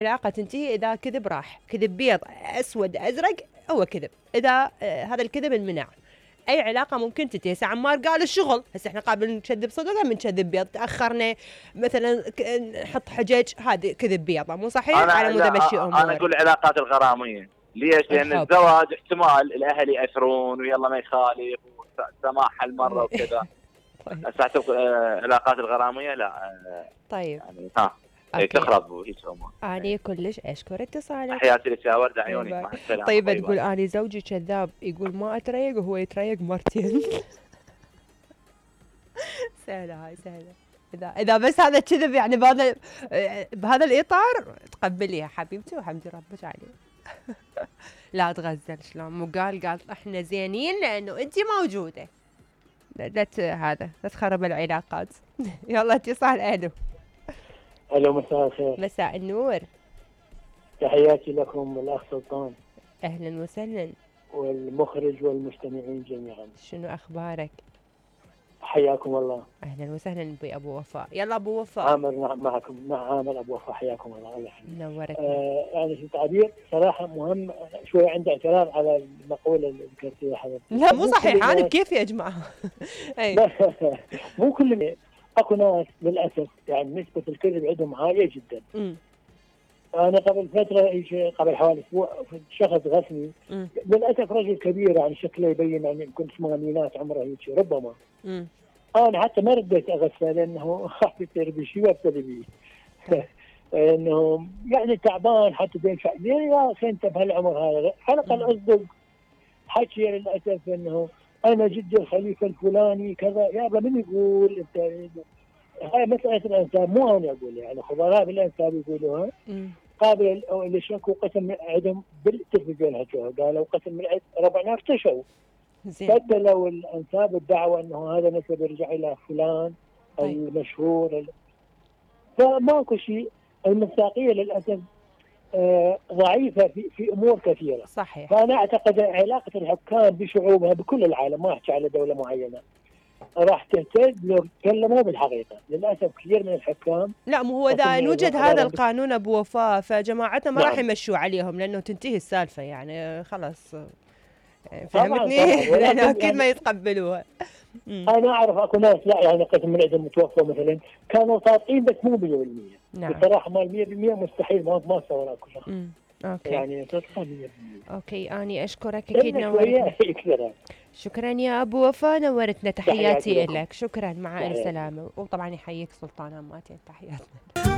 العلاقة تنتهي إذا كذب راح، كذب بيض أسود أزرق هو كذب، إذا هذا الكذب انمنع أي علاقة ممكن تنتهي. هسه عمار قال الشغل، هسه احنا قابل نكذب صدق ولا بنكذب بيض؟ تأخرنا مثلا نحط حجج، هذه كذب بيض مو صحيح؟ على مود امشي امور. انا اقول العلاقات الغرامية. ليش؟ لأن الزواج احتمال الأهل يأثرون ويلا ما يخالف وسماح هالمرة وكذا. طيب. العلاقات الغرامية لا. طيب يعني تخرب وهيك امور. اني كلش اشكر اتصالك. حياتي لك يا ورده عيونك، مع السلامه. طيب تقول اني زوجي كذاب، يقول ما اتريق وهو يتريق مرتين. سهله هاي سهله. اذا بس هذا كذب يعني بهذا الاطار تقبليها حبيبتي وحمدي ربك عليه. لا تغزل شلون مو قال احنا زينين لانه انت موجوده. لا تخرب العلاقات. يلا اتصال. الو مساء الخير. مساء النور. تحياتي لكم الاخ سلطان. اهلا وسهلا. والمخرج والمستمعين جميعا. شنو اخبارك؟ حياكم الله. اهلا وسهلا ابو وفاء. يلا ابو وفاء. عامر معكم، مع عامر ابو وفاء. حياكم الله. الله يحفظك. نورتنا. يعني في تعبير صراحه مهم شوي، عندي اعتراض على المقوله اللي ذكرتيها حضرتك. لا مو صحيح. انا كيف يا جماعه؟ مو كل اكو ناس للاسف يعني نسبه الكذب عندهم عاليه جدا. انا قبل فتره قبل حوالي اسبوع شخص غسني، للاسف رجل كبير يعني شكله يبين يعني يمكن ثمانينات عمره هيك ربما. انا حتى ما رديت اغسله لانه خاف يصير بشيء وابتدي بيه. انه يعني تعبان حتى ينفع يا اخي انت بهالعمر هذا على الاقل اصدق. حكي للاسف انه انا جدي الخليفه الفلاني كذا. يابا من يقول انت؟ هاي مساله الانساب، مو انا اقول يعني خبراء بالانساب يقولوها. قابل للشك وقسم عندهم بالتلفزيون حكوها، قالوا قسم من عند ربعنا ارتشوا. بدلوا الانساب الدعوه انه هذا نسب يرجع الى فلان المشهور. فماكو شيء. المصداقيه للاسف ضعيفه في امور كثيره. صحيح. فانا اعتقد علاقه الحكام بشعوبها بكل العالم، ما احكي على دوله معينه، راح تهتز لو تكلموا بالحقيقه. للاسف كثير من الحكام لا مو هو اذا يوجد هذا القانون ابو وفاء فجماعتنا ما راح يمشوا عليهم لانه تنتهي السالفه يعني خلاص. فهمتني؟ لانه اكيد ما يتقبلوها. انا اعرف اكو ناس لا يعني قسم من عندهم متوفى مثلا كانوا صادقين بس مو 100%. نعم. بصراحه مال 100% مستحيل، ما اتصور اكو شخص. اوكي. يعني صدقا 100%. اوكي اني اشكرك اكيد نورتنا. شكرا يا ابو وفاء نورتنا. تحياتي لك. شكرا مع السلامه. وطبعا يحييك سلطان هماتين. تحياتنا.